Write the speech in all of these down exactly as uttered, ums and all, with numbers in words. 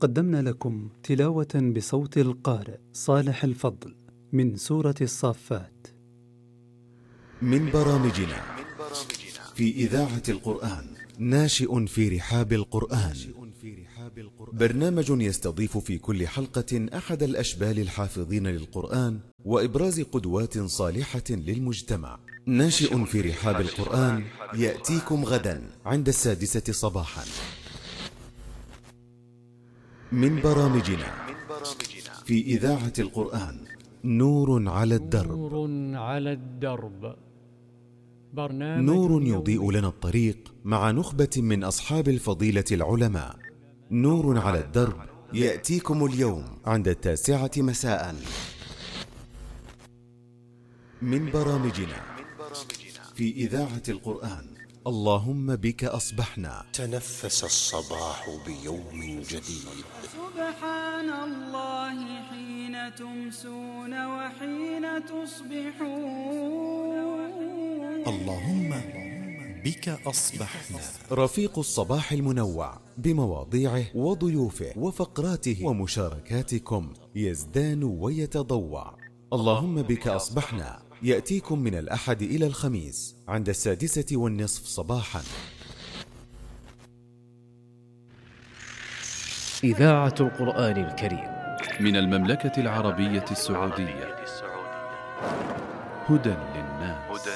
قدمنا لكم تلاوة بصوت القارئ صالح الفضل من سورة الصافات من برامجنا في إذاعة القرآن. ناشئ في رحاب القرآن، برنامج يستضيف في كل حلقة أحد الأشبال الحافظين للقرآن وإبراز قدوات صالحة للمجتمع. ناشئ في رحاب القرآن يأتيكم غدا عند السادسة صباحا. من برامجنا في إذاعة القرآن نور على الدرب. نور على الدرب، برنامج نور يضيء لنا الطريق مع نخبة من أصحاب الفضيلة العلماء. نور على الدرب يأتيكم اليوم عند التاسعة مساء. من برامجنا في إذاعة القرآن اللهم بك أصبحنا. تنفس الصباح بيوم جديد. سبحان الله حين تمسون وحين تصبحون. اللهم بك أصبحنا. رفيق الصباح المنوع بمواضيعه وضيوفه وفقراته ومشاركاتكم يزدان ويتضوع. اللهم بك أصبحنا يأتيكم من الأحد إلى الخميس عند السادسة والنصف صباحا. إذاعة القرآن الكريم من المملكة العربية السعودية. هدى للناس.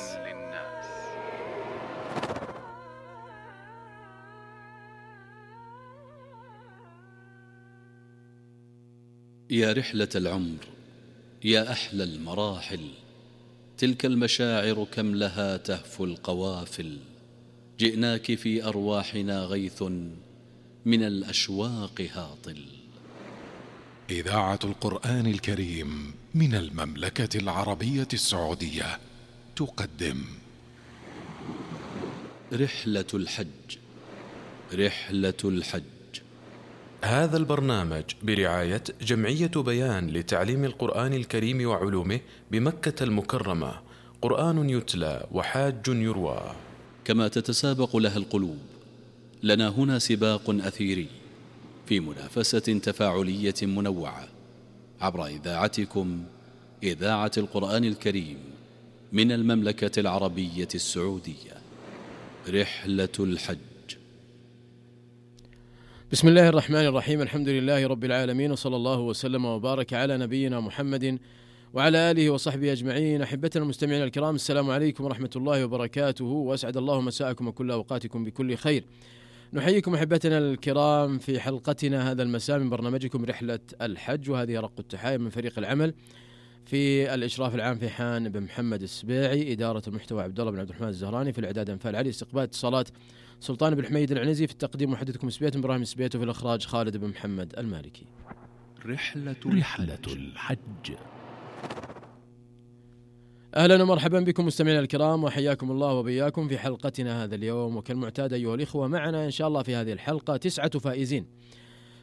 يا رحلة العمر، يا أحلى المراحل، تلك المشاعر كم لها تهفو القوافل. جئناك في أرواحنا غيث من الأشواق هاطل. إذاعة القرآن الكريم من المملكة العربية السعودية تقدم رحلة الحج. رحلة الحج. هذا البرنامج برعاية جمعية بيان لتعليم القرآن الكريم وعلومه بمكة المكرمة. قرآن يتلى وحاج يروى. كما تتسابق لها القلوب، لنا هنا سباق أثيري في منافسة تفاعلية منوعة عبر إذاعتكم إذاعة القرآن الكريم من المملكة العربية السعودية. رحلة الحج. بسم الله الرحمن الرحيم. الحمد لله رب العالمين، وصلى الله وسلم وبارك على نبينا محمد وعلى آله وصحبه أجمعين. أحبتنا المستمعين الكرام، السلام عليكم ورحمة الله وبركاته، وأسعد الله مساءكم وكل أوقاتكم بكل خير. نحييكم أحبتنا الكرام في حلقتنا هذا المساء من برنامجكم رحلة الحج، وهذه رق التحايا من فريق العمل في الإشراف العام في حان بن محمد السبيعي، إدارة المحتوى عبد الله بن عبد الرحمن الزهراني، في الإعداد أنفال علي، استقبال اتصالات سلطان بن حميد العنزي، في التقديم محدثكم سبيت إبراهيم سبيت، وفي الإخراج خالد بن محمد المالكي. رحلة رحلة الحج. أهلا ومرحبا بكم مستمعينا الكرام، وحياكم الله وبياكم في حلقتنا هذا اليوم. وكالمعتاد أيها الإخوة، معنا إن شاء الله في هذه الحلقة تسعة فائزين،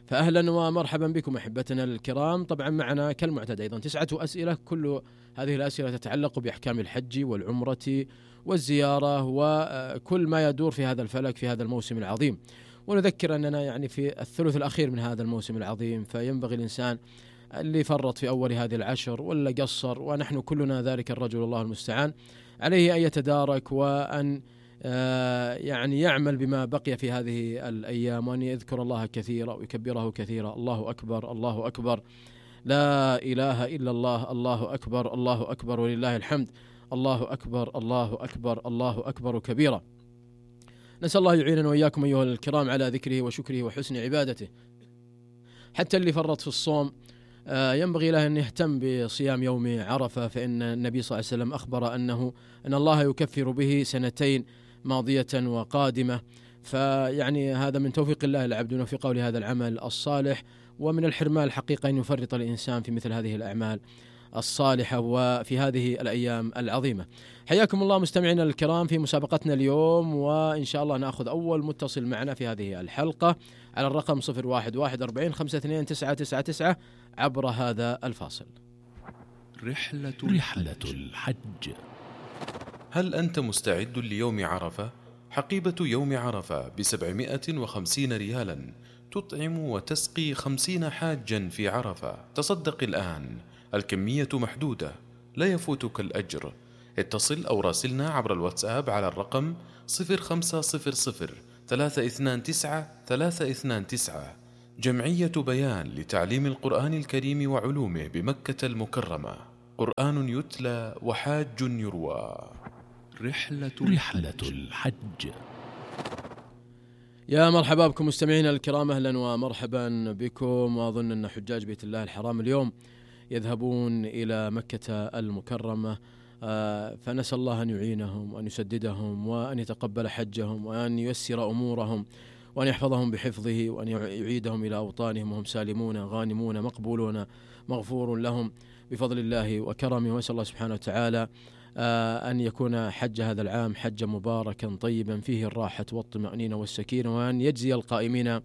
فأهلا ومرحبا بكم أحبتنا الكرام. طبعا معنا كالمعتاد أيضا تسعة أسئلة، كل هذه الأسئلة تتعلق بأحكام الحج والعمرة والزيارة وكل ما يدور في هذا الفلك في هذا الموسم العظيم. ونذكر أننا يعني في الثلث الأخير من هذا الموسم العظيم، فينبغي الإنسان اللي فرط في أول هذه العشر ولا قصر، ونحن كلنا ذلك الرجل الله المستعان، عليه أن يتدارك وأن يعني يعمل بما بقي في هذه الأيام، وأن يذكر الله كثيرا ويكبره كثيرا. الله أكبر، الله أكبر، لا إله إلا الله، الله أكبر، الله أكبر ولله الحمد، الله أكبر، الله أكبر، الله أكبر كبيرا. نسأل الله يعيننا وإياكم أيها الكرام على ذكره وشكره وحسن عبادته. حتى اللي فرط في الصوم ينبغي له أن يهتم بصيام يوم عرفة، فإن النبي صلى الله عليه وسلم أخبر أنه أن الله يكفر به سنتين ماضية وقادمة. فيعني هذا من توفيق الله العبد وفقه لهذا العمل الصالح، ومن الحرمان الحقيقة أن يفرط الإنسان في مثل هذه الأعمال الصالحة وفي هذه الأيام العظيمة. حياكم الله مستمعينا الكرام في مسابقتنا اليوم، وإن شاء الله نأخذ أول متصل معنا في هذه الحلقة على الرقم صفر واحد واحد أربعين خمسة اثنين تسعة تسعة تسعة عبر هذا الفاصل. رحلة رحلة الحج. هل أنت مستعد ليوم عرفة؟ حقيبة يوم عرفة بسبعمائة وخمسين ريالا تطعم وتسقي خمسين حاجا في عرفة. تصدق الآن، الكمية محدودة، لا يفوتك الأجر. اتصل أو راسلنا عبر الواتساب على الرقم صفر خمسة صفر صفر ثلاثة اثنان تسعة ثلاثة اثنان تسعة. جمعية بيان لتعليم القرآن الكريم وعلومه بمكة المكرمة. قرآن يتلى وحاج يروى. رحلة, رحلة الحج. يا مرحبا بكم مستمعينا الكرام، أهلا ومرحبا بكم. وأظن أن حجاج بيت الله الحرام اليوم يذهبون إلى مكة المكرمة، فنسأل الله أن يعينهم وأن يسددهم وأن يتقبل حجهم وأن ييسر أمورهم وأن يحفظهم بحفظه وأن يعيدهم إلى أوطانهم وهم سالمون غانمون مقبولون مغفور لهم بفضل الله وكرمه. وأسأل الله سبحانه وتعالى أن يكون حج هذا العام حجا مباركا طيبا فيه الراحة والطمأنينة والسكينة، وأن يجزي القائمين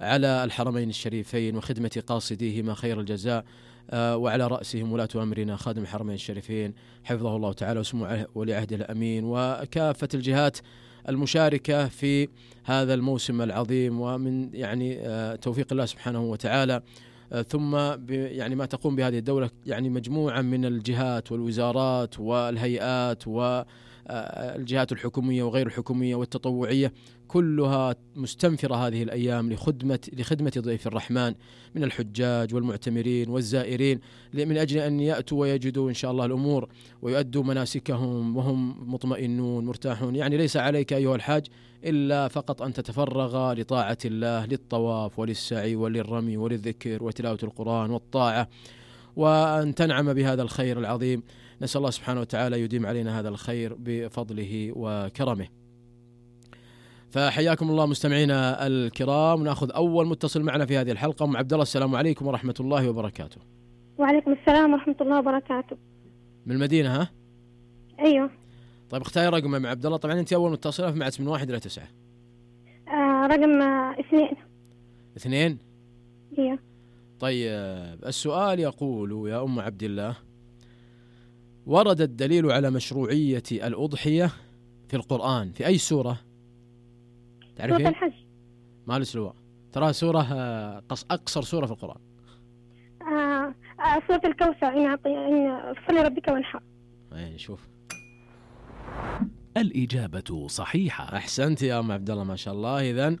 على الحرمين الشريفين وخدمة قاصديهما خير الجزاء، وعلى رأسهم ولاة أمرنا خادم الحرمين الشريفين حفظه الله تعالى وسمو ولي عهده الأمين، وكافة الجهات المشاركة في هذا الموسم العظيم، ومن يعني توفيق الله سبحانه وتعالى ثم يعني ما تقوم بهذه الدولة يعني مجموعة من الجهات والوزارات والهيئات والجهات الحكومية وغير الحكومية والتطوعية، كلها مستنفرة هذه الأيام لخدمة لخدمة ضيف الرحمن من الحجاج والمعتمرين والزائرين، من أجل أن يأتوا ويجدوا إن شاء الله الأمور ويؤدوا مناسكهم وهم مطمئنون مرتاحون. يعني ليس عليك أيها الحاج إلا فقط أن تتفرغ لطاعة الله، للطواف وللسعي وللرمي وللذكر وتلاوة القرآن والطاعة، وأن تنعم بهذا الخير العظيم. نسأل الله سبحانه وتعالى يديم علينا هذا الخير بفضله وكرمه. فحياكم الله مستمعينا الكرام. نأخذ أول متصل معنا في هذه الحلقة. أم عبد الله، السلام عليكم ورحمة الله وبركاته. وعليكم السلام ورحمة الله وبركاته. من المدينة ها؟ أيوه. طيب اختاري رقم يا عبد الله. طبعا أنت أول متصلة في معت من واحد إلى تسعة. آه رقم آه اثنين. اثنين؟ ايوه. طيب السؤال يقول يا أم عبد الله: ورد الدليل على مشروعية الأضحية في القرآن في أي سورة؟ تعرفين؟ سورة الحج. ما الأسلوب ترى سورة قص أقصر سورة في القرآن. آه آه سورة الكوثر. إن أعطي إن فصل ربك وانحر. أي شوف. الإجابة صحيحة. أحسنت يا أم عبد الله ما شاء الله. إذن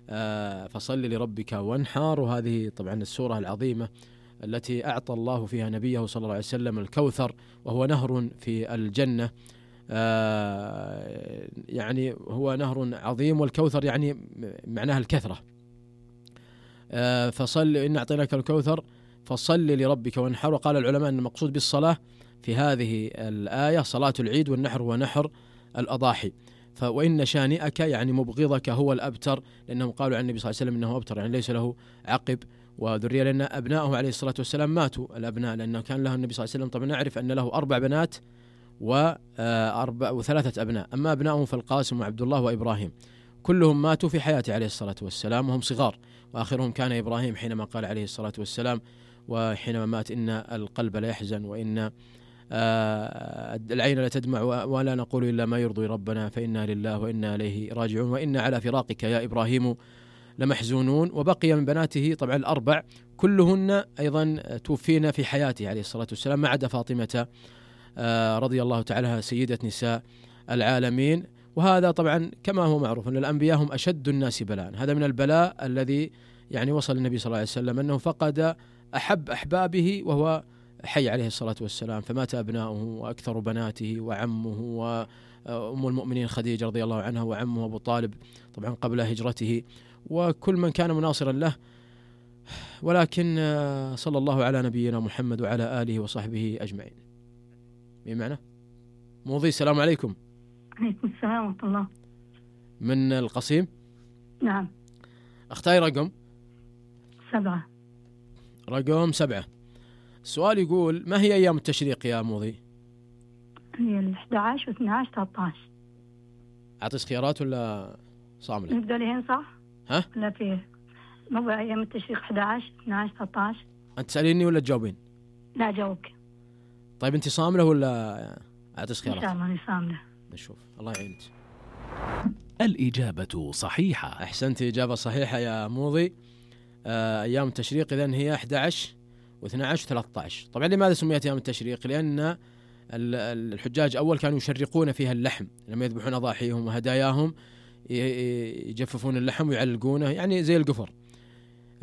آه فصل لربك وانحر، وهذه طبعا السورة العظيمة التي أعطى الله فيها نبيه صلى الله عليه وسلم الكوثر، وهو نهر في الجنة. آه يعني هو نهر عظيم، والكوثر يعني معناها الكثرة. آه فصل إن أعطيناك الكوثر فصل لربك وانحر. وقال العلماء أن المقصود بالصلاة في هذه الآية صلاة العيد، والنحر هو نحر الأضاحي. وإن شانئك يعني مبغضك هو الأبتر، لأنهم قالوا عن النبي صلى الله عليه وسلم أنه أبتر يعني ليس له عقب وذرية، لأن أبنائه عليه الصلاة والسلام ماتوا الأبناء، لأنه كان له النبي صلى الله عليه وسلم طبعا نعرف أن له أربع بنات وأربع وثلاثة أبناء، أما أبنائه فالقاسم وعبد الله وإبراهيم كلهم ماتوا في حياته عليه الصلاة والسلام وهم صغار، وآخرهم كان إبراهيم حينما قال عليه الصلاة والسلام وحينما مات: إن القلب لا يحزن وإن العين لا تدمع ولا نقول إلا ما يرضي ربنا فإنا لله وإنا إليه راجعون وإنا على فراقك يا إبراهيم لمحزونون. وبقي من بناته طبعا الأربع كلهن أيضا توفينا في حياته عليه الصلاة والسلام، ما عدا فاطمة رضي الله تعالى عنها سيدة نساء العالمين. وهذا طبعا كما هو معروف أن الأنبياء هم أشد الناس بلاء. هذا من البلاء الذي يعني وصل النبي صلى الله عليه وسلم أنه فقد أحب أحبابه وهو حي عليه الصلاة والسلام، فمات أبناؤه وأكثر بناته وعمه وأم المؤمنين خديجة رضي الله عنها وعمه أبو طالب طبعا قبل هجرته، وكل من كان مناصرا له. ولكن صلى الله على نبينا محمد وعلى آله وصحبه أجمعين. بمعنى موضي. السلام عليكم. عليكم السلام ورحمة الله. من القصيم. نعم. اختاري رقم سبعة. رقم سبعة. السؤال يقول: ما هي أيام التشريق يا موضي؟ هي الأحد عشر واثنى عشر ثلاثة عشر. أعطيس خيارات ولا صاملة؟ نبدأ لهين صح؟ ها؟ لا فيه موضوع أيام التشريق أحد عشر اثنى عشر ثلاثة عشر. أنت تسأليني ولا تجاوبين؟ لا جاوبك. طيب أنت صاملة ولا أعطيس خيارات؟ إن شاء الله أنا صاملة. نشوف. الله يعينك. الإجابة صحيحة. أحسنت، إجابة صحيحة يا موضي. آه أيام التشريق إذن هي أحد عشر واثني عشر وثلاثة عشر. طبعا لماذا سميت أيام التشريق؟ لأن الحجاج أول كانوا يشرقون فيها اللحم لما يذبحون أضاحيهم وهداياهم، يجففون اللحم ويعلقونه يعني زي القفر.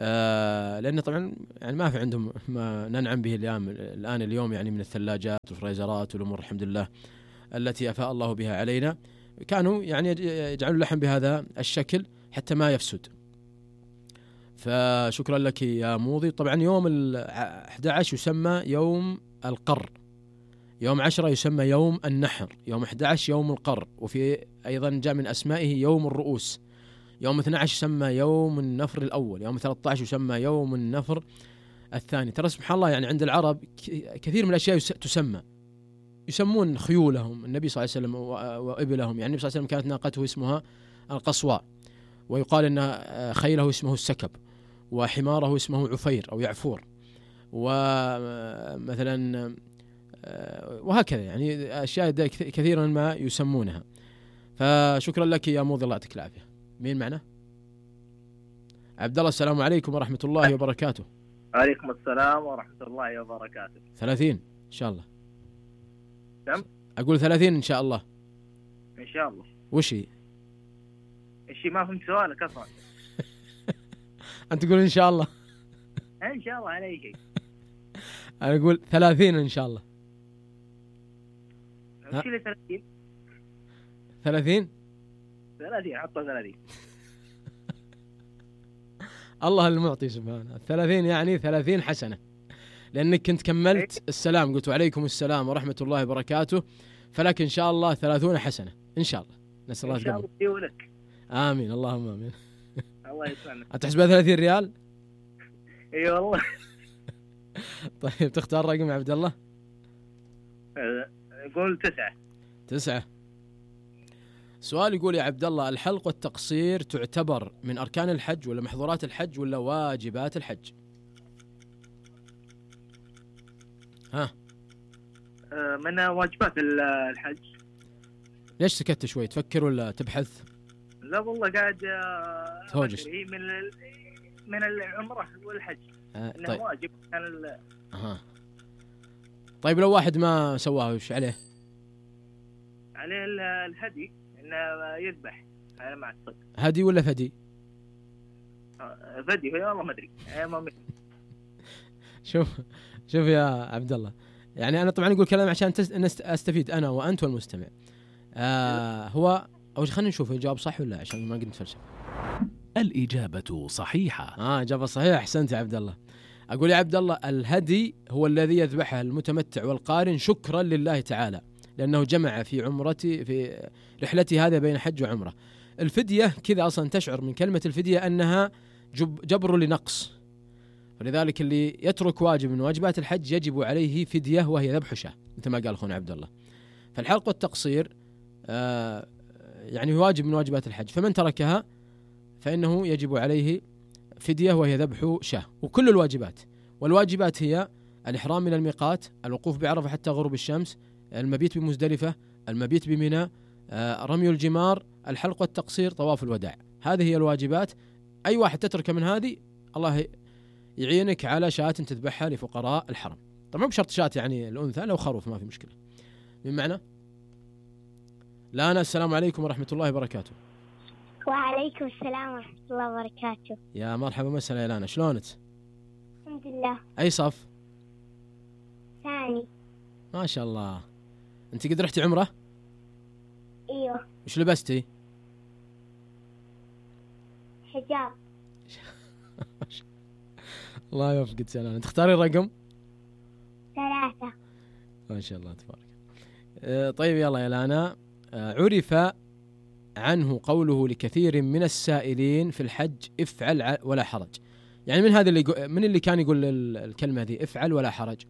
آه لأن طبعا يعني ما في عندهم ما ننعم به اليوم الآن اليوم يعني من الثلاجات والفريزرات والأمور الحمد لله التي أفاء الله بها علينا. كانوا يعني يجعلون اللحم بهذا الشكل حتى ما يفسد. فشكرا لك يا موضي. طبعا يوم الأحد عشر يسمى يوم القر، يوم عشرة يسمى يوم النحر، يوم أحد عشر يوم القر، وفي أيضا جاء من أسمائه يوم الرؤوس. يوم اثني عشر يسمى يوم النفر الأول، يوم ثلاثة عشر يسمى يوم النفر الثاني. ترى سبحان الله يعني عند العرب كثير من الأشياء تسمى، يسمون خيولهم النبي صلى الله عليه وسلم وإبلهم. يعني النبي صلى الله عليه وسلم كانت ناقته اسمها القصواء، ويقال أن خيله اسمه السكب، وحماره اسمه عفير أو يعفور، ومثلا وهكذا يعني أشياء كثيرا ما يسمونها. فشكرا لك يا موضي الله يعطيك العافية. مين معنا؟ عبد الله. السلام عليكم ورحمة الله وبركاته. عليكم السلام ورحمة الله وبركاته. ثلاثين إن شاء الله. كم؟ أقول ثلاثين إن شاء الله. إن شاء الله. وش هي؟ إيش ما فهمت سؤالك أصلا. أنت تقول إن شاء الله. إن شاء الله على شيء. أنا أقول ثلاثين إن شاء الله. وش اللي ثلاثين؟ ثلاثين؟ ثلاثين حطوا ثلاثين. الله المعطي سبحانه. الثلاثين يعني ثلاثين حسنة، لأنك كنت كملت السلام قلت وعليكم السلام ورحمة الله وبركاته، فلك إن شاء الله ثلاثون حسنة إن شاء الله. نسأل الله إن شاء الله لك. آمين اللهم آمين. الله يسلمك. أتحسبها ثلاثين ريال؟ إي والله. طيب تختار رقم يا عبد الله؟ قول تسعة. تسعة. سؤال يقول يا عبد الله، الحلق والتقصير تعتبر من أركان الحج ولا محظورات الحج ولا واجبات الحج؟ ها؟ من واجبات الحج. ليش سكت شوي؟ تفكر ولا تبحث؟ لا والله قاعد توجس. من من العمرة والحج. آه إنه طيب. واجب كان ال... أها. طيب لو واحد ما سواه وش عليه؟ عليه الهدي إنه يذبح على ما أعتقد. هدي ولا فدي؟ فدي هي والله ما أدري. شوف شوف يا عبد الله، يعني أنا طبعا أقول كلام عشان أستفيد أنا وأنت والمستمع. آه هو أو خلينا نشوف الجواب صح ولا عشان ما قلت فلسفة. الإجابة صحيحة. آه إجابة صحيحة. أحسنت يا عبد الله. أقول يا عبد الله الهدي هو الذي يذبحه المتمتع والقارن شكرا لله تعالى، لأنه جمع في عمرتي في رحلتي هذا بين حج وعمرة. الفدية كذا أصلا تشعر من كلمة الفدية أنها جب جبر لنقص، ولذلك اللي يترك واجب من واجبات الحج يجب عليه فدية وهي ذبح شاة مثل ما قال أخونا عبد الله. فالحلق والتقصير آه يعني واجب من واجبات الحج، فمن تركها فإنه يجب عليه فدية وهي ذبح شاة. وكل الواجبات، والواجبات هي الإحرام من الميقات، الوقوف بعرفة حتى غروب الشمس، المبيت بمزدلفة، المبيت بمنى، آه رمي الجمار، الحلق والتقصير، طواف الوداع. هذه هي الواجبات. أي واحد تترك من هذه الله يعينك على شاة تذبحها لفقراء الحرم. طبعا بشرط شاة يعني الأنثى، لو خروف ما في مشكلة. من معنى؟ لانا. السلام عليكم ورحمة الله وبركاته. وعليكم السلام ورحمة الله وبركاته. يا مرحبا مسهلا يا لانا، شلونك؟ الحمد لله. أي صف؟ ثاني. ما شاء الله. أنت قد رحتي عمرة؟ ايوه. وش لبستي؟ حجاب. الله يوفقك سلام. تختاري الرقم؟ ثلاثة. ما شاء الله تبارك. أه طيب يلا يا لانا. أه عرف عنه قوله لكثير من السائلين في الحج افعل ولا حرج. يعني من هذا اللي من اللي كان يقول الكلمة ذي افعل ولا حرج؟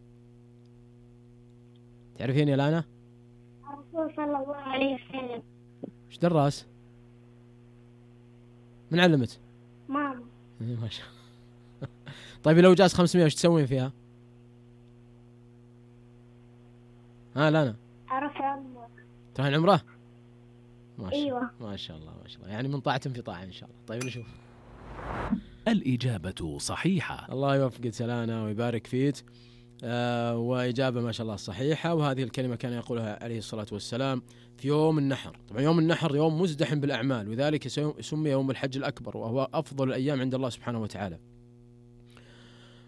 تعرفين يا لانا؟ الرسول صلى الله عليه وسلم. ايش دراس؟ من علمت؟ ماما. ما شاء الله. طيب لو جاز خمسمية وش تسوين فيها؟ ها لانا؟ أروح عمرة. تروحين عمرة؟ ما شاء أيوة. ما شاء الله ما شاء الله، يعني من طاعة في طاعة إن شاء الله. طيب نشوف. الإجابة صحيحة. الله يوفقك سلانا ويبارك فيك. آه وإجابة ما شاء الله صحيحة. وهذه الكلمة كان يقولها عليه الصلاة والسلام في يوم النحر. طبعا يوم النحر يوم مزدحم بالأعمال، وذلك سمي يوم الحج الأكبر، وهو أفضل الأيام عند الله سبحانه وتعالى.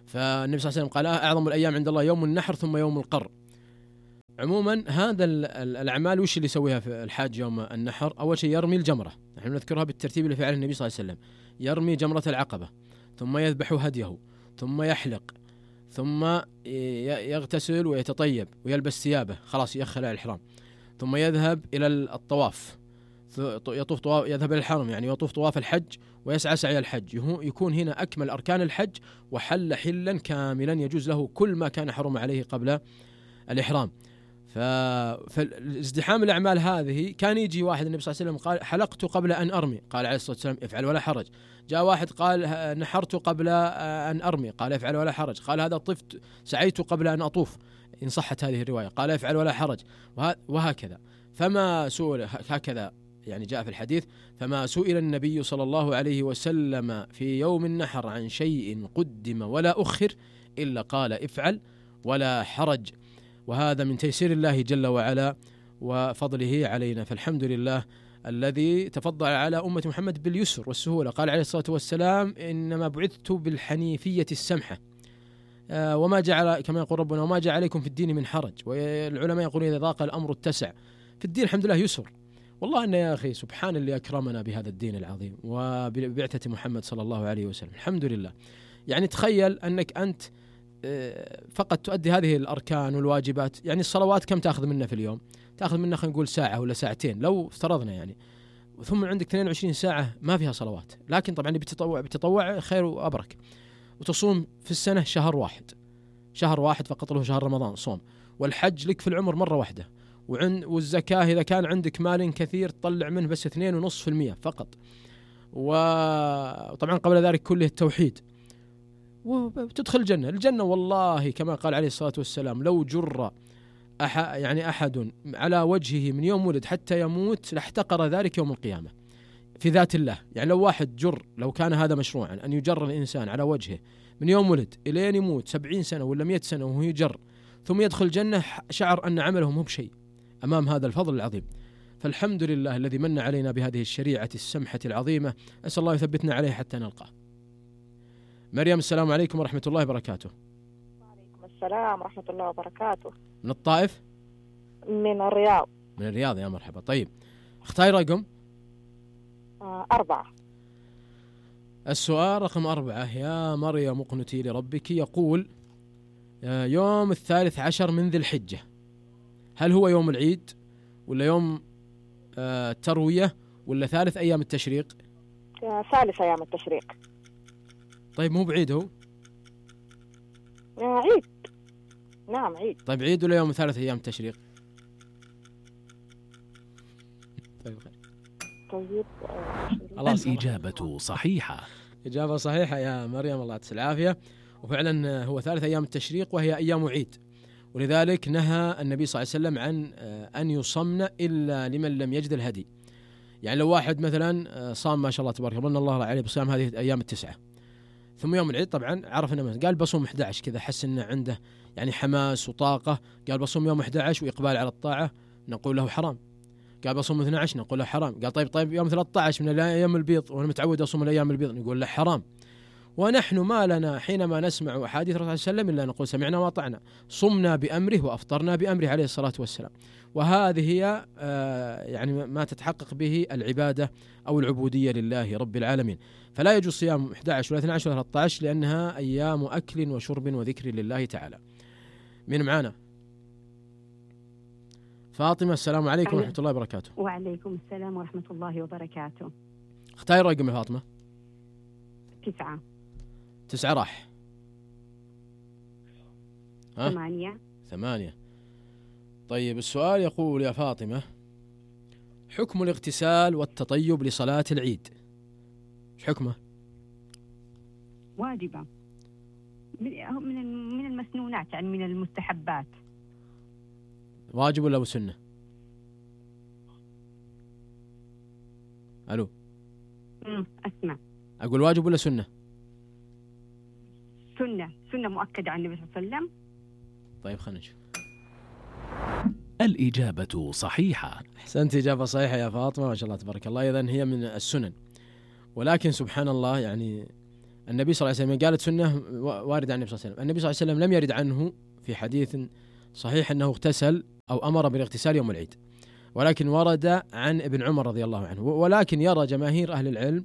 فالنبي صلى الله عليه وسلم قال أعظم الأيام عند الله يوم النحر ثم يوم القر. عموما هذا الأعمال وش اللي يسويها في الحاج يوم النحر؟ أول شيء يرمي الجمرة، نحن نذكرها بالترتيب اللي فعله النبي صلى الله عليه وسلم. يرمي جمرة العقبة، ثم يذبح هديه، ثم يحلق، ثم يغتسل ويتطيب ويلبس ثيابه، خلاص يخلع الإحرام، ثم يذهب إلى الطواف، يطوف طواف، يذهب إلى الحرم يعني يطوف طواف الحج ويسعى سعي الحج، يكون هنا أكمل أركان الحج وحل حلا كاملا يجوز له كل ما كان حرم عليه قبل الإحرام. فالازدحام الأعمال هذه كان يجي واحد النبي صلى الله عليه وسلم قال حلقت قبل أن أرمي، قال عليه الصلاة والسلام افعل ولا حرج. جاء واحد قال نحرت قبل أن أرمي، قال افعل ولا حرج. قال هذا طفت سعيت قبل أن أطوف، إن صحت هذه الرواية، قال افعل ولا حرج، وهكذا. فما سئل هكذا يعني جاء في الحديث، فما سئل النبي صلى الله عليه وسلم في يوم النحر عن شيء قدم ولا أخر إلا قال افعل ولا حرج. وهذا من تيسير الله جل وعلا وفضله علينا، فالحمد لله الذي تفضل على أمة محمد باليسر والسهولة. قال عليه الصلاة والسلام إنما بعثت بالحنيفية السمحة، آه وما جعل كما يقول ربنا وما جعل عليكم في الدين من حرج. والعلماء يقولون إذا ضاق الأمر اتسع، في الدين الحمد لله يسر. والله أن يا أخي سبحان اللي أكرمنا بهذا الدين العظيم وببعثة محمد صلى الله عليه وسلم، الحمد لله. يعني تخيل أنك أنت فقط تؤدي هذه الأركان والواجبات، يعني الصلوات كم تأخذ منا في اليوم؟ تأخذ منا خلينا نقول ساعة ولا ساعتين لو افترضنا يعني، ثم عندك اثنين وعشرين ساعة ما فيها صلوات، لكن طبعا بتطوع بتطوع خير وأبرك. وتصوم في السنة شهر واحد، شهر واحد فقط له شهر رمضان صوم، والحج لك في العمر مرة واحدة، وعند والزكاة إذا كان عندك مال كثير تطلع منه بس اثنين ونصف في المية فقط. وطبعا قبل ذلك كله التوحيد، وتدخل الجنة. الجنة والله كما قال عليه الصلاة والسلام لو جر أح يعني أحد على وجهه من يوم ولد حتى يموت لاحتقر ذلك يوم القيامة في ذات الله. يعني لو واحد جر، لو كان هذا مشروعا أن يجر الإنسان على وجهه من يوم ولد إلى يموت سبعين سنة ولا مئة سنة وهو يجر ثم يدخل الجنة، شعر أن عمله مو بشيء أمام هذا الفضل العظيم. فالحمد لله الذي من علينا بهذه الشريعة السمحة العظيمة، أسأل الله يثبتنا عليه حتى نلقاه. مريم السلام عليكم ورحمة الله وبركاته. وعليكم السلام ورحمة الله وبركاته. من الطائف؟ من الرياض. من الرياض، يا مرحبا. طيب اختاري رقم. آه أربعة. السؤال رقم أربعة. يا مريم اقنتي لربك، يقول يوم الثالث عشر من ذي الحجة هل هو يوم العيد ولا يوم التروية ولا ثالث أيام التشريق؟ ثالث أيام التشريق. طيب مو بعيد هو؟ عيد. نعم عيد. طيب عيد ولا يوم ثالث أيام التشريق؟ طيب خير. طيب الإجابة صحيحة. إجابة صحيحة يا مريم، الله يعطيك العافية. وفعلا هو ثالث أيام التشريق وهي أيام عيد، ولذلك نهى النبي صلى الله عليه وسلم عن أن يصمن إلا لمن لم يجد الهدي. يعني لو واحد مثلا صام ما شاء الله تبارك الله الله عليه بصيام هذه الأيام التسعة، ثم يوم العيد طبعا عرف انه قال بصوم أحد عشر كذا، حس انه عنده يعني حماس وطاقة، قال بصوم يوم أحد عشر وإقبال على الطاعة، نقول له حرام. قال بصوم اثني عشر نقول له حرام. قال طيب طيب يوم ثلاثة عشر من الأيام البيض وأنا متعود أصوم الأيام البيض، نقول له حرام. ونحن ما لنا حينما نسمع أحاديث الرسول صلى الله عليه وسلم إلا نقول سمعنا وأطعنا، صمنا بأمره وأفطرنا بأمره عليه الصلاة والسلام. وهذه هي آه يعني ما تتحقق به العبادة أو العبودية لله رب العالمين. فلا يجوز صيام أحد عشر ولا اثني عشر ولا ثلاثة عشر لأنها أيام أكل وشرب وذكر لله تعالى. من معانا؟ فاطمة السلام عليكم ورحمة الله وبركاته. وعليكم السلام ورحمة الله وبركاته. اختاري رقم يا فاطمة. تسعة. تسعة راح. ها؟ ثمانية. ثمانية. طيب السؤال يقول يا فاطمة، حكم الاغتسال والتطيب لصلاة العيد ايش حكمه؟ واجبة، من من المسنونات يعني من المستحبات. واجب ولا سنة؟ الو امم اسمع، اقول واجب ولا سنة؟ سنة سنة مؤكدة عن النبي صلى الله عليه وسلم. طيب خلينا نشوف. الإجابة صحيحة. أحسنت، إجابة صحيحة يا فاطمة، ما شاء الله تبارك الله. إذن هي من السنن، ولكن سبحان الله يعني النبي صلى الله عليه وسلم قالت سنة واردة عن النبي صلى الله عليه وسلم. النبي صلى الله عليه وسلم لم يرد عنه في حديث صحيح أنه اغتسل أو أمر بالاغتسال يوم العيد، ولكن ورد عن ابن عمر رضي الله عنه. ولكن يرى جماهير أهل العلم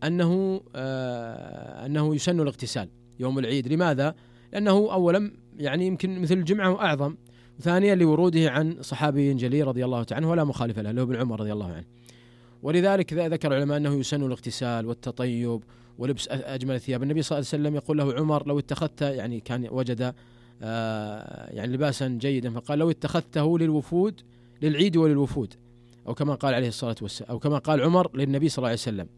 أنه آه أنه يسن الاغتسال يوم العيد. لماذا؟ لأنه أولا يعني يمكن مثل الجمعة وأعظم، ثانيا لوروده عن صحابي جليل رضي الله تعالى عنه ولا مخالف له، له ابن عمر رضي الله عنه. ولذلك ذكر العلماء أنه يسن الاغتسال والتطيب ولبس أجمل الثياب. النبي صلى الله عليه وسلم يقول له عمر لو اتخذت، يعني كان وجد آه يعني لباسا جيدا، فقال لو اتخذته للوفود للعيد وللوفود، أو كما قال عليه الصلاة والسلام، أو كما قال عمر للنبي صلى الله عليه وسلم.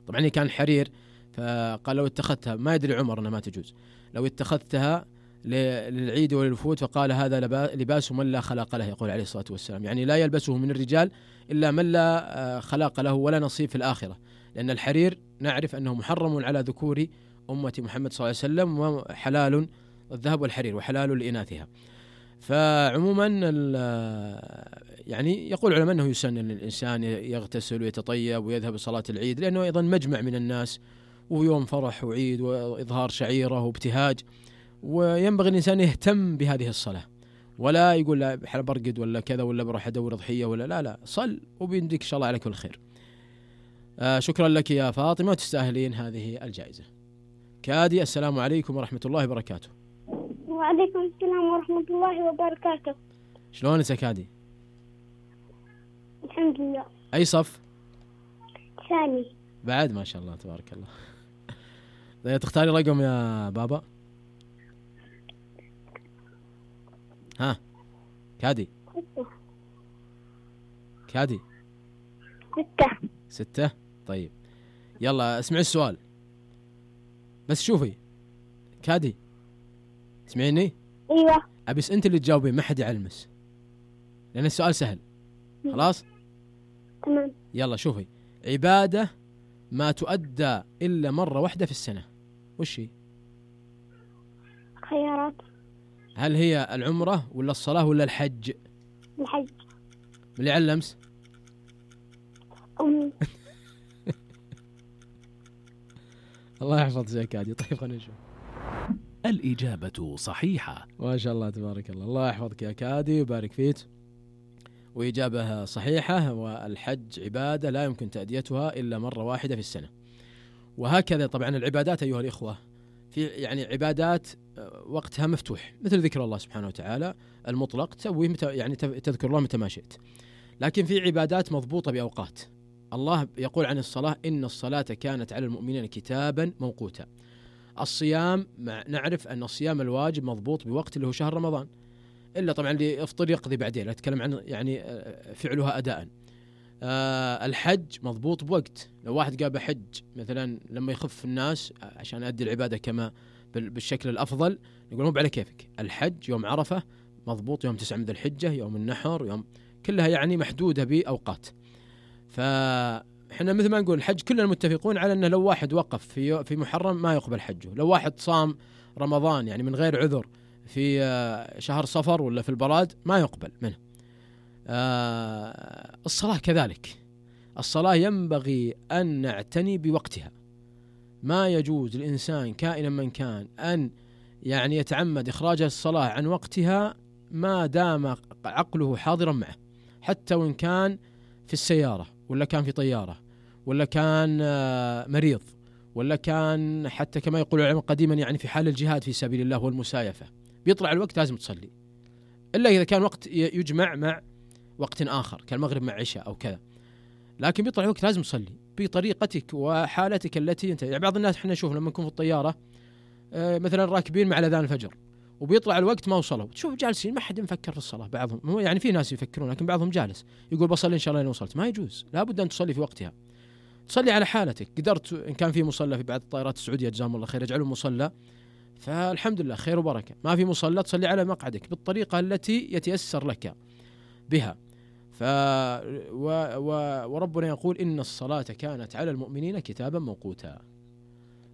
طبعا كان حرير، فقال لو اتخذتها، ما يدري عمر أنها ما تجوز، لو اتخذتها للعيد وللوفود، فقال هذا لباس من لا خلاق له، يقول عليه الصلاة والسلام، يعني لا يلبسه من الرجال إلا من لا خلاق له ولا نصيب في الآخرة، لأن الحرير نعرف أنه محرم على ذكور أمة محمد صلى الله عليه وسلم، وحلال الذهب والحرير وحلال لإناثها. فعموما يعني يقول العلماء أنه يسن للإنسان يغتسل ويتطيب ويذهب لصلاة العيد، لأنه أيضا مجمع من الناس ويوم فرح وعيد وإظهار شعيرة وابتهاج، وينبغي الإنسان يهتم بهذه الصلاة، ولا يقول لا برقد ولا كذا ولا بروح أدور ضحية ولا لا لا صل وبيديك إن شاء الله على كل خير. آه شكرا لك يا فاطمة، وتستاهلين هذه الجائزة. كادي، السلام عليكم ورحمة الله وبركاته. وعليكم السلام ورحمة الله وبركاته. شلونك يا كادي؟ الحمد لله. أي صف؟ ثاني. بعد ما شاء الله تبارك الله. تختاري رقم يا بابا؟ ها كادي كادي ستة. ستة. طيب يلا اسمعي السؤال بس. شوفي كادي، تسمعيني؟ ايوه. أبس انت اللي تجاوبين، ما حد يعلمس، لأن السؤال سهل. خلاص تمام. يلا شوفي، عبادة ما تؤدى إلا مرة واحدة في السنة، وش هي؟ خيارات. هل هي العمرة ولا الصلاة ولا الحج؟ الحج. من اللي علمس؟ أمي. الله يحفظك يا كادي. طيب خلينا نشوف. الإجابة صحيحة. ما شاء الله تبارك الله، الله يحفظك يا كادي ويبارك فيك. وإجابة صحيحة، والحج عبادة لا يمكن تأديتها إلا مرة واحدة في السنة. وهكذا طبعا العبادات أيها الإخوة، في يعني عبادات وقتها مفتوح مثل ذكر الله سبحانه وتعالى المطلق، تسويه متى يعني تذكر الله متى ما شئت. لكن في عبادات مضبوطة بأوقات. الله يقول عن الصلاة إن الصلاة كانت على المؤمنين كتابا موقوتا. الصيام نعرف أن الصيام الواجب مضبوط بوقت اللي هو شهر رمضان، إلا طبعا اللي يفطر يقضي بعدين، أتكلم عن يعني فعلها أداء. أه الحج مضبوط بوقت. لو واحد قال بحج مثلا لما يخف الناس عشان أدي العبادة كما بالشكل الأفضل، يقول مو على كيفك. الحج يوم عرفة مضبوط، يوم تسعة من ذي الحجة، يوم النحر، يوم كلها يعني محدودة بأوقات. فإحنا مثل ما نقول الحج كلنا متفقون على أنه لو واحد وقف في في محرم ما يقبل حجه. لو واحد صام رمضان يعني من غير عذر في شهر صفر ولا في البراد ما يقبل منه. آه الصلاة كذلك، الصلاة ينبغي أن نعتني بوقتها. ما يجوز للإنسان كائنا من كان أن يعني يتعمد إخراج الصلاة عن وقتها ما دام عقله حاضرا معه، حتى وإن كان في السيارة ولا كان في طيارة ولا كان مريض ولا كان حتى كما يقول العلماء قديما يعني في حال الجهاد في سبيل الله والمسايفة، بيطلع الوقت لازم تصلي، إلا إذا كان وقت يجمع مع وقت آخر كالمغرب مع عشاء أو كذا، لكن بيطلع الوقت لازم تصلي بطريقتك وحالتك التي انت. يعني بعض الناس احنا نشوف لما نكون في الطيارة مثلا راكبين مع الأذان الفجر وبيطلع الوقت ما وصلوا، تشوف جالسين ما حد مفكر في الصلاة. بعضهم يعني في ناس يفكرون لكن بعضهم جالس يقول بصلي إن شاء الله لين وصلت. ما يجوز، لابد أن تصلي في وقتها، تصلي على حالتك. قدرت إن كان في مصلى في بعض الطائرات السعودية جزاهم الله خير يجعلوا مصلى، فالحمد لله خير وبركة. ما في مصلى تصلي على مقعدك بالطريقة التي يتيسر لك بها. ف و... و... وربنا يقول إن الصلاة كانت على المؤمنين كتابا موقوتا.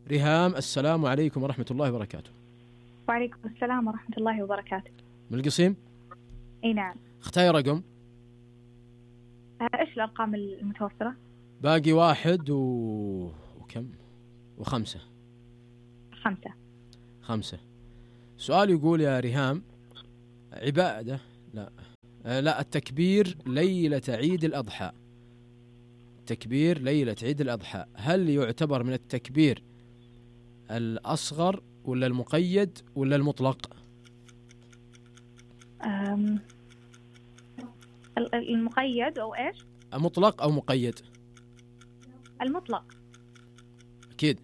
ريهام السلام عليكم ورحمة الله وبركاته. وعليكم السلام ورحمة الله وبركاته. من القصيم؟ اي نعم. اختاري رقم. ايش الأرقام المتوفرة؟ باقي واحد و... وكم؟ وخمسة. خمسة. خمسة. سؤال يقول يا ريهام: عبادة لا آه لا التكبير ليلة عيد الأضحى، تكبير ليلة عيد الأضحى هل يعتبر من التكبير الأصغر ولا المقيد ولا المطلق؟ أم... المقيد أو إيش؟ مطلق أو مقيد؟ المطلق. أكيد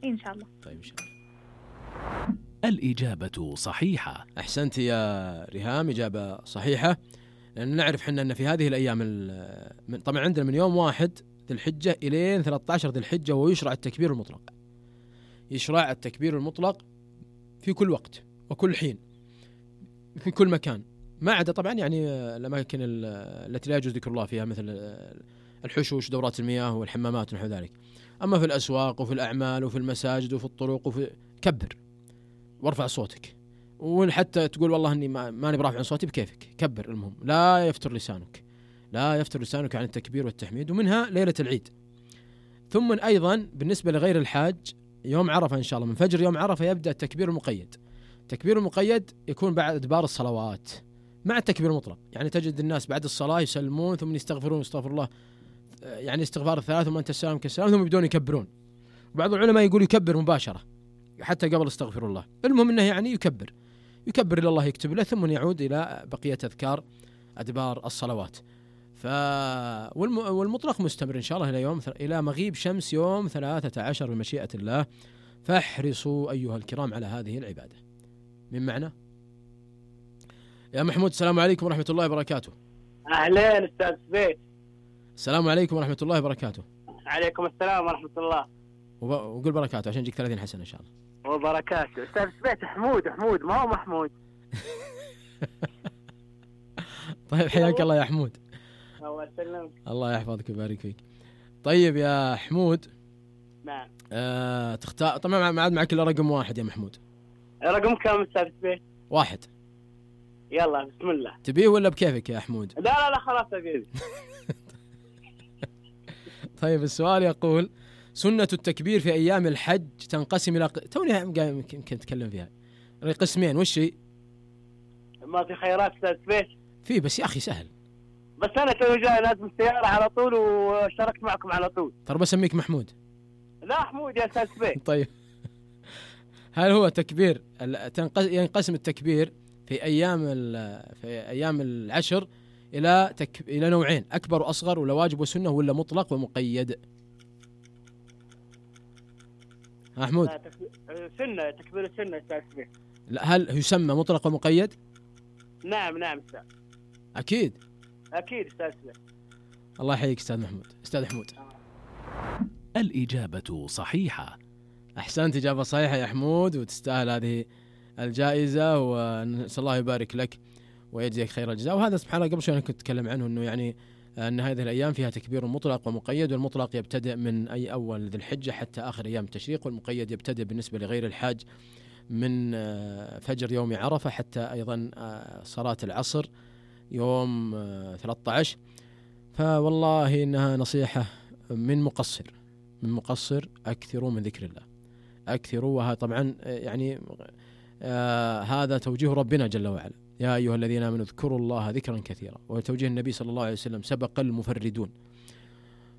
إن شاء الله. طيب إن شاء الله. الإجابة صحيحة. أحسنت يا ريهام، إجابة صحيحة. لأن نعرف حنا أن في هذه الأيام من طبعا عندنا من يوم واحد ذي الحجة إلى ثلاثة عشر ذي الحجة ويشرع التكبير المطلق. يشرع التكبير المطلق في كل وقت وكل حين في كل مكان، ما عدا طبعا يعني الأماكن التي لا يجوز ذكر الله فيها مثل الحشوش دورات المياه والحمامات ونحو ذلك. أما في الأسواق وفي الأعمال وفي المساجد وفي الطرق وفي كبر وارفع صوتك، وحتى تقول والله اني ما ماني برافع عن صوتي بكيفك كبر، المهم لا يفتر لسانك، لا يفتر لسانك عن التكبير والتحميد. ومنها ليلة العيد. ثم أيضا بالنسبة لغير الحاج يوم عرفة إن شاء الله من فجر يوم عرفة يبدأ التكبير المقيد. التكبير المقيد يكون بعد أدبار الصلوات مع التكبير المطلق، يعني تجد الناس بعد الصلاة يسلمون ثم يستغفرون استغفر الله يعني استغفار الثلاث ثم أنت السلام كالسلام ثم يبدون يكبرون. بعض العلماء يقول يكبر مباشرة حتى قبل استغفر الله. المهم أنه يعني يكبر يكبر إلى الله يكتب له ثم يعود إلى بقية أذكار أدبار الصلوات. ف والمطلق مستمر إن شاء الله إلى يوم إلى مغيب شمس يوم ثلاثة عشر بمشيئة الله. فاحرصوا أيها الكرام على هذه العبادة. من معنى يا محمود؟ السلام عليكم ورحمة الله وبركاته. أهلين أستاذ بيت. السلام عليكم ورحمة الله وبركاته. عليكم السلام ورحمة الله. وقول بركاته عشان يجيك ثلاثين حسنة إن شاء الله. وبركاته. أستاذ بيت حمود حمود ما هو محمود. طيب حياك الله يا حمود. الله يسلمك. الله يحفظك ويبارك فيك. طيب يا حمود. نعم. آه تختار طبعا ما عاد معك إلا رقم واحد يا محمود. رقم كم أستاذ بيت؟ واحد. يلا بسم الله. تبيه ولا بكيفك يا حمود؟ لا لا لا خلاص أبيه. طيب السؤال يقول: سنة التكبير في أيام الحج تنقسم إلى توني يمكن نتكلم فيها قسمين. وش هي؟ ما في خيارات أستاذ بيت؟ في بس يا أخي سهل. بس أنا توي جاي لازم السيارة على طول واشتركت معكم على طول. ترى بسميك محمود. لا حمود يا أستاذ بيت. طيب هل هو تكبير ينقسم التكبير في أيام في أيام العشر إلى تك... إلى نوعين: أكبر وأصغر ولا واجب وسنة ولا مطلق ومقيد؟ أحمود. لا تك... سنة تكبير السنة أستاذ بيت. لا هل يسمى مطلق ومقيد؟ نعم نعم أستاذ. أكيد. أكيد أستاذ بيت. الله يحييك أستاذ محمود. أستاذ حمود. الإجابة صحيحة. أحسنت، إجابة صحيحة يا حمود وتستاهل هذه الجائزة ونسأل الله يبارك لك ويجزيك خير الجزاء. وهذا سبحان الله قبل شوي أنا كنت أتكلم عنه أنه يعني أن هذه الأيام فيها تكبير مطلق ومقيد، والمطلق يبتدئ من أي أول ذي الحجة حتى آخر أيام التشريق، والمقيد يبتدئ بالنسبة لغير الحاج من فجر يوم عرفة حتى أيضا صلاة العصر يوم ثلاثة عشر. فوالله إنها نصيحة من مقصر من مقصر أكثروا من ذكر الله، أكثروا. وها طبعا يعني آه هذا توجيه ربنا جل وعلا: يا أيها الذين آمنوا اذكروا الله ذكرا كثيرا. وتوجيه النبي صلى الله عليه وسلم: سبق المفردون.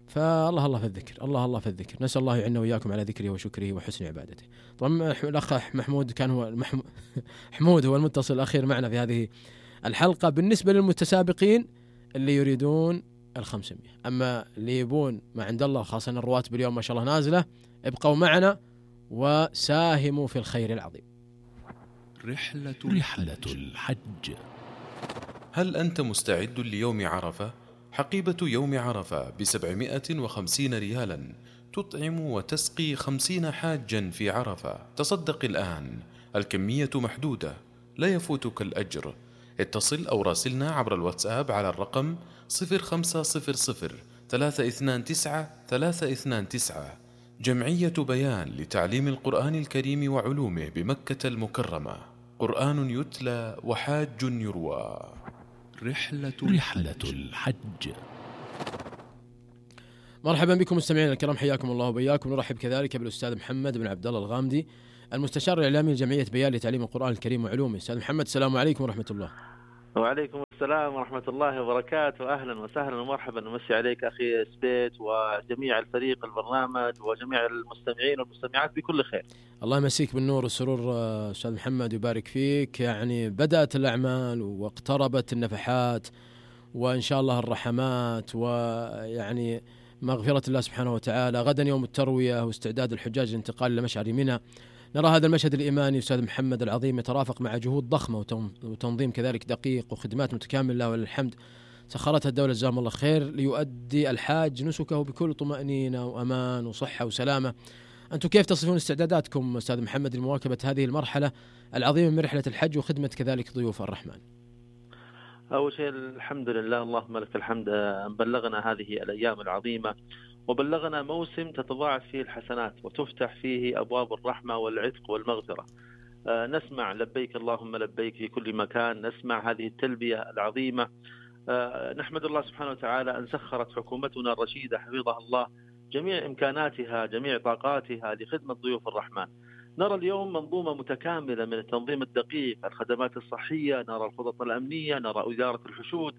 فالله الله في الذكر، الله الله في الذكر. نسأل الله يعيننا وإياكم على ذكره وشكره وحسن عبادته. طبعا الأخ محمود كان هو حمود هو المتصل الأخير معنا في هذه الحلقة. بالنسبة للمتسابقين اللي يريدون الخمسمية، أما اللي يبون ما عند الله خاصة الرواتب اليوم ما شاء الله نازلة، ابقوا معنا وساهموا في الخير العظيم. رحلة رحلة الحج. هل أنت مستعد ليوم عرفة؟ حقيبة يوم عرفة بسبعمائة وخمسين ريالا تطعم وتسقي خمسين حاجا في عرفة. تصدق الآن، الكمية محدودة، لا يفوتك الأجر. اتصل أو راسلنا عبر الواتساب على الرقم صفر خمسة صفر صفر ثلاثة اثنان تسعة ثلاثة اثنان تسعة جمعية بيان لتعليم القرآن الكريم وعلومه بمكة المكرمة، قرآن يتلى وحاج يروى. رحلة, رحلة الحج. مرحبا بكم مستمعينا الكرام، حياكم الله وبياكم. نرحب كذلك بالأستاذ محمد بن عبد الله الغامدي، المستشار الإعلامي لجمعية بيان لتعليم القرآن الكريم وعلومه. أستاذ محمد، السلام عليكم ورحمة الله. وعليكم السلام ورحمة الله وبركاته. أهلا وسهلا ومرحبا، ومسي عليك أخي سبيت وجميع الفريق البرنامج وجميع المستمعين والمستمعات بكل خير. الله يمسيك بالنور والسرور أستاذ محمد، يبارك فيك. يعني بدأت الأعمال واقتربت النفحات وإن شاء الله الرحمات، ويعني مغفرة الله سبحانه وتعالى. غدا يوم التروية واستعداد الحجاج للانتقال إلى مشعر منى. نرى هذا المشهد الإيماني أستاذ محمد العظيم يترافق مع جهود ضخمة وتنظيم كذلك دقيق وخدمات متكاملة وللحمد سخرتها الدولة جزاهم الله خير ليؤدي الحاج نسكه بكل طمأنينة وأمان وصحة وسلامة. أنتم كيف تصفون استعداداتكم أستاذ محمد لمواكبة هذه المرحلة العظيمة من رحلة الحج وخدمة كذلك ضيوف الرحمن؟ أول شيء الحمد لله، اللهم لك الحمد، بلغنا هذه الأيام العظيمة وبلغنا موسم تتضاعف فيه الحسنات وتفتح فيه أبواب الرحمة والعتق والمغفرة. آه نسمع لبيك اللهم لبيك في كل مكان، نسمع هذه التلبية العظيمة. آه نحمد الله سبحانه وتعالى أن سخرت حكومتنا الرشيدة حفظها الله جميع إمكاناتها جميع طاقاتها لخدمة ضيوف الرحمن. نرى اليوم منظومة متكاملة من التنظيم الدقيق، الخدمات الصحية، نرى الخطط الأمنية، نرى إدارة الحشود،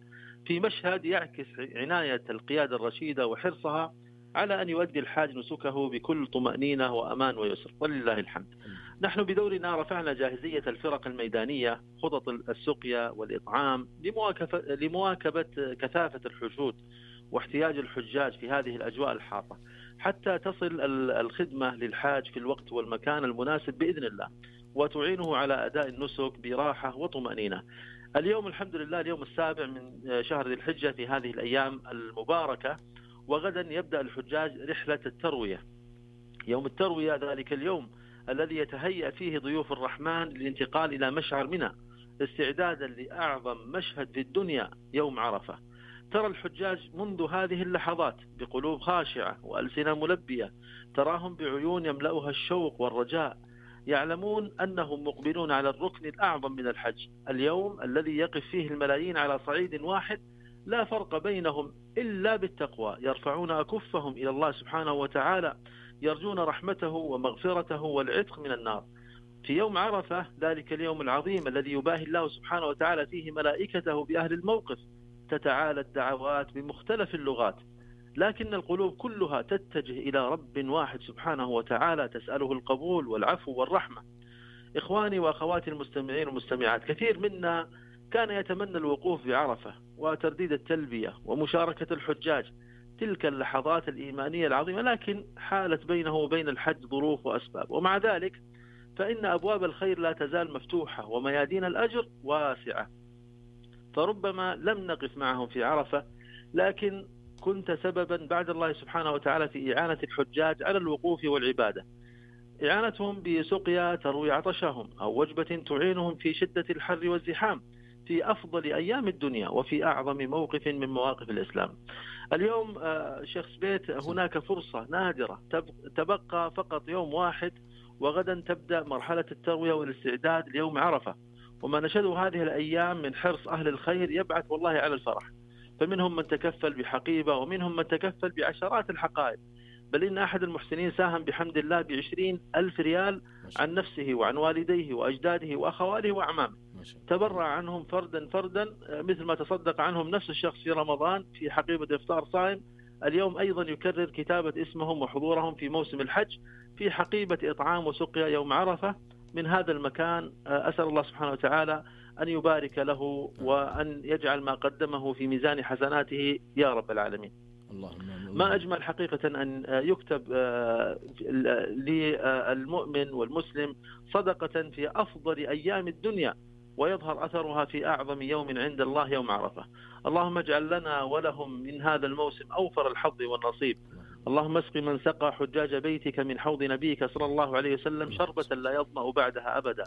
في مشهد يعكس عناية القيادة الرشيدة وحرصها على أن يؤدي الحاج نسكه بكل طمأنينة وأمان ويسر، ولله الحمد. نحن بدورنا رفعنا جاهزية الفرق الميدانية، خطط السقيا والإطعام لمواكبة كثافة الحشود واحتياج الحجاج في هذه الأجواء الحارة، حتى تصل الخدمة للحاج في الوقت والمكان المناسب بإذن الله، وتعينه على أداء النسك براحة وطمأنينة. اليوم الحمد لله اليوم السابع من شهر ذي الحجة في هذه الأيام المباركة، وغدا يبدأ الحجاج رحلة التروية. يوم التروية ذلك اليوم الذي يتهيأ فيه ضيوف الرحمن للانتقال إلى مشعر منى استعدادا لأعظم مشهد في الدنيا يوم عرفة. ترى الحجاج منذ هذه اللحظات بقلوب خاشعة وألسنة ملبية، تراهم بعيون يملأها الشوق والرجاء، يعلمون أنهم مقبلون على الركن الأعظم من الحج، اليوم الذي يقف فيه الملايين على صعيد واحد لا فرق بينهم إلا بالتقوى، يرفعون أكفهم إلى الله سبحانه وتعالى، يرجون رحمته ومغفرته والعتق من النار. في يوم عرفة ذلك اليوم العظيم الذي يباهي الله سبحانه وتعالى فيه ملائكته بأهل الموقف، تتعالى الدعوات بمختلف اللغات، لكن القلوب كلها تتجه إلى رب واحد سبحانه وتعالى تسأله القبول والعفو والرحمة. إخواني وأخواتي المستمعين والمستمعات، كثير منا كان يتمنى الوقوف بعرفة وترديد التلبية ومشاركة الحجاج، تلك اللحظات الإيمانية العظيمة، لكن حالت بينه وبين الحج ظروف وأسباب، ومع ذلك فإن أبواب الخير لا تزال مفتوحة وميادين الأجر واسعة. فربما لم نقف معهم في عرفة، لكن كنت سببا بعد الله سبحانه وتعالى في إعانة الحجاج على الوقوف والعبادة، إعانتهم بسقيا تروي عطشهم أو وجبة تعينهم في شدة الحر والزحام في أفضل أيام الدنيا وفي أعظم موقف من مواقف الإسلام. اليوم شيخ سبيت هناك فرصة نادرة، تبقى فقط يوم واحد وغدا تبدأ مرحلة التروية والاستعداد ليوم عرفة، وما نشهده هذه الأيام من حرص أهل الخير يبعث والله على الفرح. فمنهم من تكفل بحقيبة ومنهم من تكفل بعشرات الحقائب، بل إن أحد المحسنين ساهم بحمد الله بعشرين ألف ريال عن نفسه وعن والديه وأجداده وأخواله وأعمامه، تبرع عنهم فردا فردا مثل ما تصدق عنهم نفس الشخص في رمضان في حقيبة إفطار صائم. اليوم أيضا يكرر كتابة اسمهم وحضورهم في موسم الحج في حقيبة إطعام وسقيا يوم عرفة من هذا المكان. أسأل الله سبحانه وتعالى أن يبارك له وأن يجعل ما قدمه في ميزان حسناته يا رب العالمين. اللهم ما أجمل حقيقة أن يكتب للمؤمن والمسلم صدقة في أفضل أيام الدنيا ويظهر أثرها في أعظم يوم عند الله يوم عرفة. اللهم اجعل لنا ولهم من هذا الموسم أوفر الحظ والنصيب. اللهم اسق من سقى حجاج بيتك من حوض نبيك صلى الله عليه وسلم شربة لا يظمأ بعدها أبدا.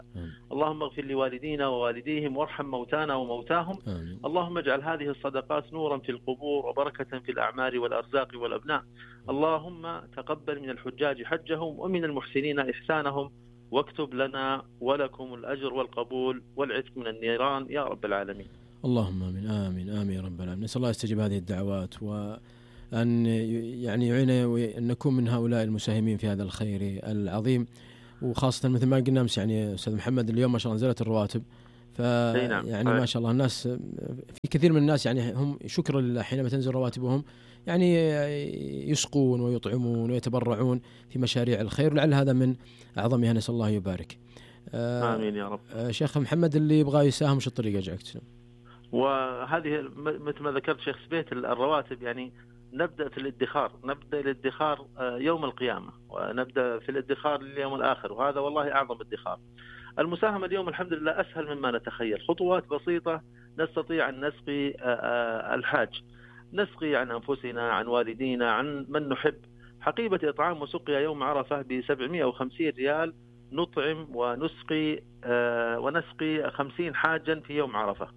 اللهم اغفر لوالدينا ووالديهم وارحم موتانا وموتاهم. آمين. اللهم اجعل هذه الصدقات نورا في القبور وبركة في الأعمار والأرزاق والأبناء. اللهم تقبل من الحجاج حجهم ومن المحسنين إحسانهم، واكتب لنا ولكم الأجر والقبول والعتق من النيران يا رب العالمين. اللهم آمين آمين آمين يا رب العالمين. نسأل الله يستجيب هذه الدعوات، وأن يعني يعيننا وأن نكون من هؤلاء المساهمين في هذا الخير العظيم. وخاصة مثل ما قلنا أمس يعني أستاذ محمد، اليوم ما شاء الله نزلت الرواتب، فيعني ما شاء الله الناس في كثير من الناس يعني هم شكرا لله حينما تنزل رواتبهم يعني يسقون ويطعمون ويتبرعون في مشاريع الخير، ولعل هذا من أعظمها، نسأل الله يبارك. آمين يا رب. شيخ محمد، اللي يبغى يساهم وش الطريقة أجاك تسلم؟ وهذه مثل ما ذكرت شيخ سبيت الرواتب يعني نبدأ في الادخار، نبدأ الادخار يوم القيامة، ونبدأ في الادخار لليوم الآخر، وهذا والله أعظم ادخار. المساهمة اليوم الحمد لله أسهل مما نتخيل، خطوات بسيطة نستطيع أن نسقي الحاج، نسقي عن أنفسنا، عن والدينا، عن من نحب. حقيبة إطعام وسقيا يوم عرفة بسبعمائة وخمسين ريال، نطعم ونسقي ونسقي خمسين حاجا في يوم عرفة،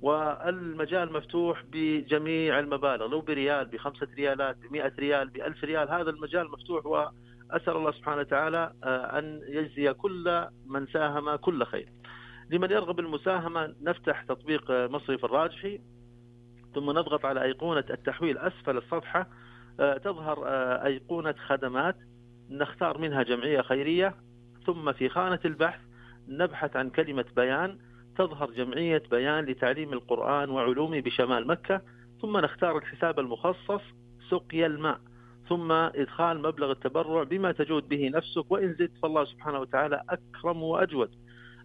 والمجال مفتوح بجميع المبالغ، لو بريال، بخمسة ريالات، بمئة ريال، بألف ريال، هذا المجال مفتوح، وأسأل الله سبحانه وتعالى أن يجزي كل من ساهم كل خير. لمن يرغب المساهمة نفتح تطبيق مصرف الراجحي، ثم نضغط على أيقونة التحويل أسفل الصفحة، تظهر أيقونة خدمات، نختار منها جمعية خيرية، ثم في خانة البحث نبحث عن كلمة بيان، تظهر جمعية بيان لتعليم القرآن وعلومه بشمال مكة، ثم نختار الحساب المخصص سقيا الماء، ثم إدخال مبلغ التبرع بما تجود به نفسك، وإن زدت فالله سبحانه وتعالى أكرم وأجود.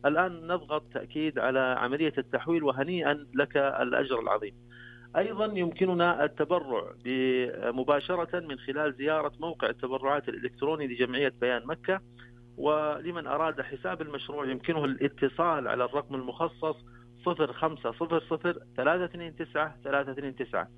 الآن نضغط تأكيد على عملية التحويل، وهنيئا لك الأجر العظيم. أيضا يمكننا التبرع مباشرة من خلال زيارة موقع التبرعات الإلكتروني لجمعية بيان مكة، ولمن أراد حساب المشروع يمكنه الاتصال على الرقم المخصص صفر خمسة صفر صفر ثلاثة اثنين تسعة ثلاثة اثنين تسعة.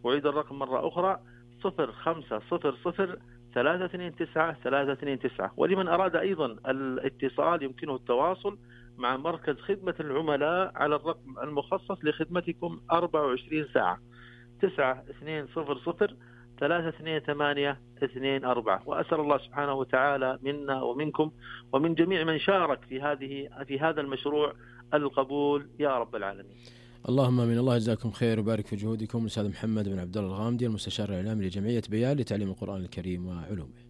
أعيد الرقم مرة أخرى صفر خمسة صفر صفر ثلاثة اثنين تسعة ثلاثة اثنين تسعة. ولمن أراد أيضا الاتصال يمكنه التواصل مع مركز خدمة العملاء على الرقم المخصص لخدمتكم أربعة وعشرين ساعة تسعة اثنين صفر صفر ثلاثة اثنين ثمانية اثنين أربعة. وأسأل الله سبحانه وتعالى منا ومنكم ومن جميع من شارك في هذه في هذا المشروع القبول يا رب العالمين. اللهم امين. الله يجزاكم خير ويبارك في جهودكم. الاستاذ محمد بن عبد الله الغامدي، المستشار الاعلامي لجمعية بيان لتعليم القرآن الكريم وعلومه.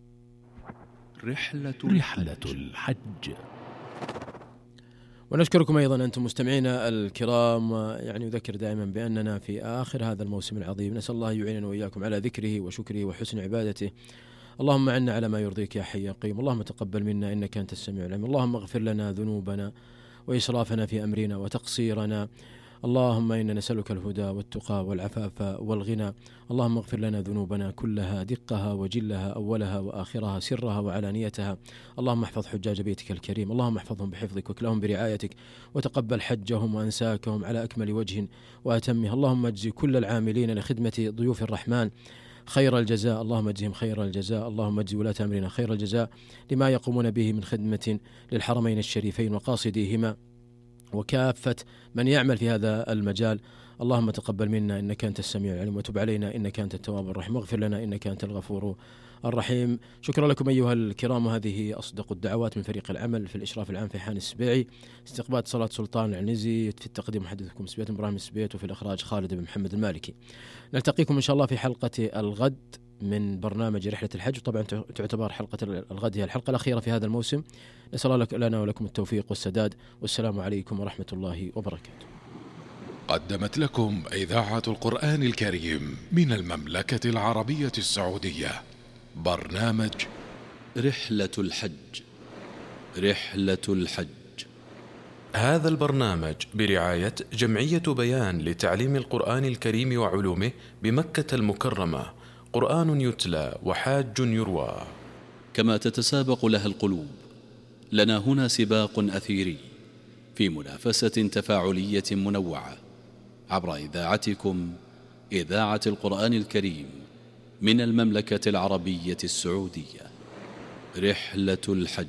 رحلة رحلة الحج. ونشكركم أيضا أنتم مستمعينا الكرام، يعني أذكر دائما بأننا في آخر هذا الموسم العظيم، نسأل الله يعيننا وإياكم على ذكره وشكره وحسن عبادته. اللهم عنا على ما يرضيك يا حي يا قيوم. اللهم تقبل منا إنك أنت السميع العليم. اللهم اغفر لنا ذنوبنا وإسرافنا في أمرنا وتقصيرنا. اللهم إنا نسألك الهدى والتقى والعفاف والغنى. اللهم اغفر لنا ذنوبنا كلها، دقها وجلها، أولها وآخرها، سرها وعلانيتها. اللهم احفظ حجاج بيتك الكريم، اللهم احفظهم بحفظك وكلهم برعايتك، وتقبل حجهم وأنساكهم على أكمل وجه وأتمه. اللهم اجزي كل العاملين لخدمة ضيوف الرحمن خير الجزاء، اللهم اجزهم خير الجزاء. اللهم اجزي ولاة أمرنا خير الجزاء لما يقومون به من خدمة للحرمين الشريفين وقاصديهما وكافة من يعمل في هذا المجال. اللهم تقبل منا إنك أنت السميع العليم، وتب علينا إنك أنت التواب الرحيم، واغفر لنا إنك أنت الغفور الرحيم. شكرا لكم أيها الكرام، وهذه أصدق الدعوات من فريق العمل في الإشراف العام في حان السبيعي، استقبال صلاة سلطان العنزي، في التقديم محدثكم سبيت إبراهيم السبيت، وفي الإخراج خالد بن محمد المالكي. نلتقيكم إن شاء الله في حلقة الغد من برنامج رحلة الحج، وطبعا تعتبر حلقة الغد هي الحلقة الأخيرة في هذا الموسم. نسأل الله لنا ولكم التوفيق والسداد، والسلام عليكم ورحمة الله وبركاته. قدمت لكم إذاعة القرآن الكريم من المملكة العربية السعودية برنامج رحلة الحج. رحلة الحج. هذا البرنامج برعاية جمعية بيان لتعليم القرآن الكريم وعلومه بمكة المكرمة، قرآن يتلى وحاج يروى. كما تتسابق لها القلوب، لنا هنا سباق أثيري في منافسة تفاعلية منوعة عبر إذاعتكم إذاعة القرآن الكريم من المملكة العربية السعودية. رحلة الحج.